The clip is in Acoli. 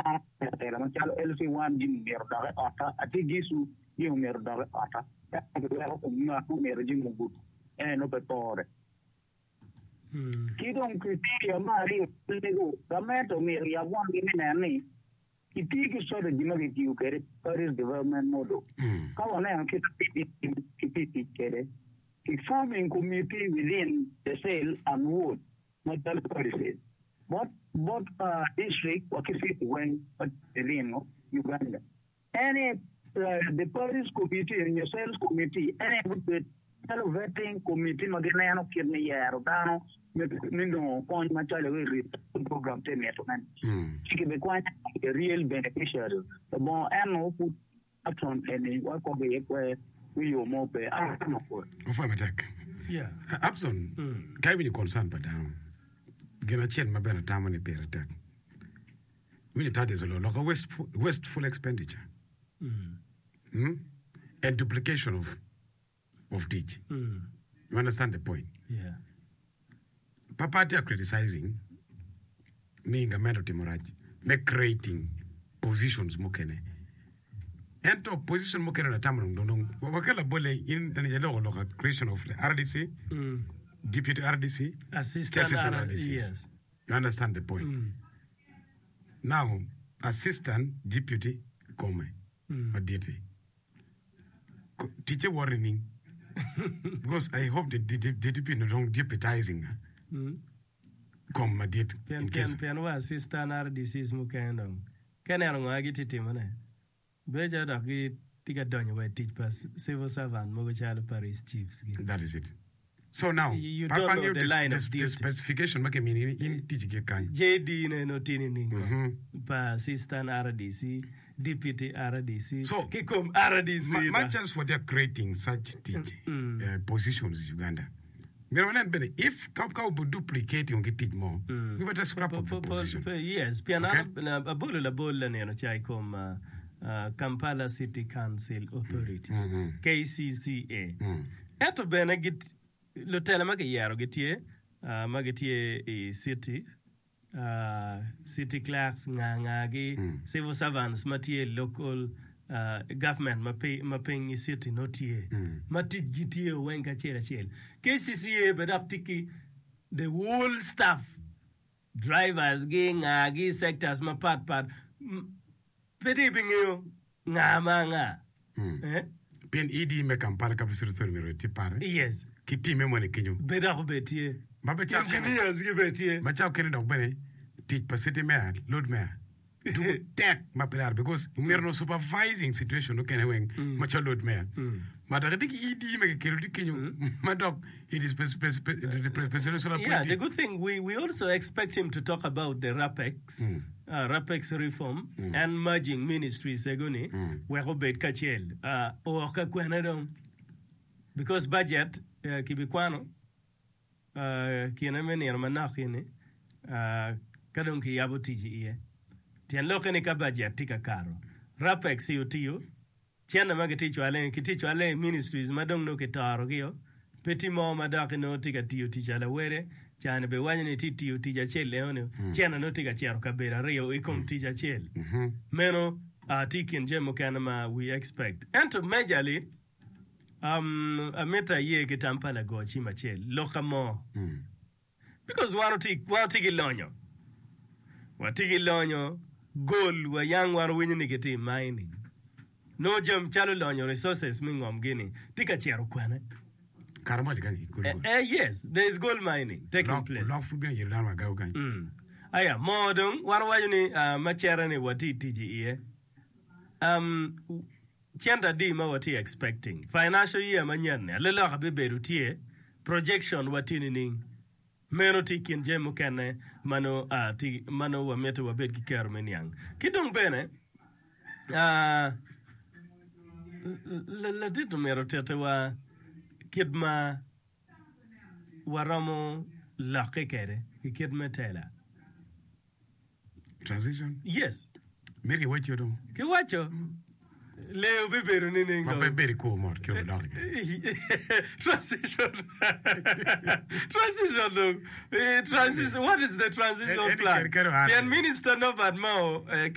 An atela macalo LC1 jami myero odok i otta, atye Gicu jami myero odok i otta. Ento giweko kom ngat ma myero jami ogudo en nongo pe pore. Ki dong criteria me aryo mego, gamente omyero oyab wanggi me neno ni gitiyo ki strategy ma kitiyo kwede Parish Development Model. Ka waneno kit ma PDM kitye tic kwede ki forming committee within the cell and ward macalo parishes bot bot district wa ki city weng ma tye within Uganda. En aye the parish committee nyo cells committee en aye gubed calo vetting committee ma gineno kit me yero dano me nongo kony macalo i program tye mito ne ci kibikwanyo the real beneficiary labongo eno pud action eni wakobo iye kwer me yo mo pe ano pwod. Opwoyo matek. Abson, ka iwinyo concern pa dano, gin acel ma bene atamo ni pire tek, Winyo Tadius oloko lok wasteful, wasteful expenditure mm? and duplication of, of tic. You understand the point? Yeah. Papa tye criticizing ni gamente otimo rac me creating positions mukene. Ento position mukene natamo dong dong dong wakel labolle in nene iloko lok a creation of the RDC, deputy RDC, ki Assistant assistant R- RDCs. yes. You understand the point? Now, assistant deputy kome maditi ko- ticce woto nining? Because I hope the, the, the deputy no dong deputizing kom madit Pien, in pien, case. pien wa assistant RDCs mukene dong ka ineno ngo gitye timone, Bedo calo dok gitye ka donyo wa i tic pa civil servant mogo calo parish chiefs gi. That is it. So now, You pa don't pa know ngeyo the the, line the, of the duty. specification ma kimini ni in ticci ki kany. JD ne nongo tye nining kong? Mhm. Pa assistant RDC, deputy RDC, So, ki kom RDC Ma, dok. much as what they are creating such tic uh, positions in Uganda, myero wanen bene if ka ka obo duplicating ki tic mo, we better scrap off the position. Yes, pien Okay? an abolo labol lanino ca i kom Kampala City Council Authority, KCCA. Ento bene lutela ma kiyero gitye ma gitye i city City clerks, nga nga gi, civil servants ma tye i local government ma piny i city nongo tye ma tic gi tye weng kacel acel. KCCA bene dok tye ki the whole staff, drivers gi, nga gi, sectors mapat pat. Pe dong ibingeyo nga ma anga. Eh? Pien ED me Kampala Capital City Authority myero etye pare Yes. ki timme moni kenyo. Be dok obed tye. Ma pe cawa kene, Engineers gi bene tye. ma cawa kene dok bene tic pa city mayor, lord mayor doko tek ma pe laro because myero onongo supervising situation mukene weng macalo lord mayor. Ma dok itye ki ED ma kikelo tye kenyo ma dok it is pres- pres- pres- the presidential Yeah, the appointee. good thing we, we also expect him to talk about the RAPEX, uh, RAPEX reform and merging ministries ego-ni wek obed kacel. Uh, oo ka kwene dong because budget uh, kibikwano uh, kine me nino manok eni uh, ka dong kiyabo tic iye. Tyen lokke ni ka budget tye ka kato, RAPEX-ci otiyo Cente ma kitye cwale kitye cwale i ministries ma dong nongo kitoro gio, pe tye mo ma dok nongo tye ka tiyo tic alawede, cani bene waco ni tye tiyo tic acel enoni, cente nongo tye ka cito kabedo aryo i kom tic acel. Meno tye i kin jami mukene ma we expect. Ento majorly, um, amito aye ki tam pa lago cim acel, lokka mo. Because wan watye wan watye ki lonyo, watye ki lonyo gold wa yang wan winyo ni gitye i mining nongo jami calo lonyo resources me ngom gini tye ka cito kwene. Kare mo kany i Eh, eh, yes, there is gold mining taking Lok place. lok pud bino yelo dano wa gawu kany. Mm. Aya, moo dong wan waco ni ah, ma cere ni watye tic iye. Um, Cente adi ma watye expecting? Financial year manyen ni aleloka bibedo tye, projection wa tye nining? Meno tye i kin jami mukene ma nongo tye ma nongo wamito wabed ki kero me niang. Ki dong bene ladit omyero otitiwa kit ma waromo lokke kwede ki kit me tela. Transition? Yes. Myero kiwacci dong. Kiwaco. Lee obibedo nining Ma dong? pe bedo i kwo mot kit odok i Transition. Transition dong. Eh, transition. What is the transition Eh, eh, plan? ker- ker oa- Pien Minister Norbert Mao eh,